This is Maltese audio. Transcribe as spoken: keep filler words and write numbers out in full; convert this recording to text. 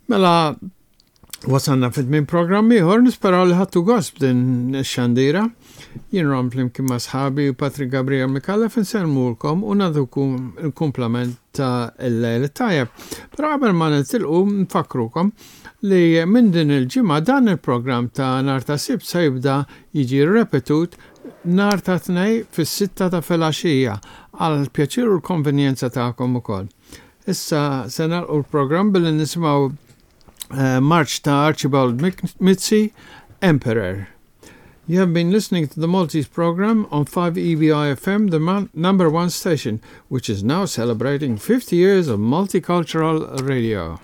Mela, wasalna fit-tmiem programm ieħor, nisperaw li ħadtu gost b'din ix-xandira. Jien Ron flimkien ma' sħabi Patrick Gabriel Micallef insellmulkom u nagħtukom il-kumplament ta' il-lejl tajjeb. Però qabel ma nitilqu nfakkrukom li minn din il-ġimgħa dan il-programm ta' nhar ta' Sibt se jibda jiġi repetut nhar ta' Tnejn fis-sitta ta' filgħaxija għal pjaċir u l-konvenjenza tagħkom ukoll. Issa se nagħlqu l-programm billi nisimgħu uh, marċ ta' Archibald Mizzi, Emperor. You have been listening to the Maltese program on five E B I F M, the man- number one station, which is now celebrating fifty years of multicultural radio.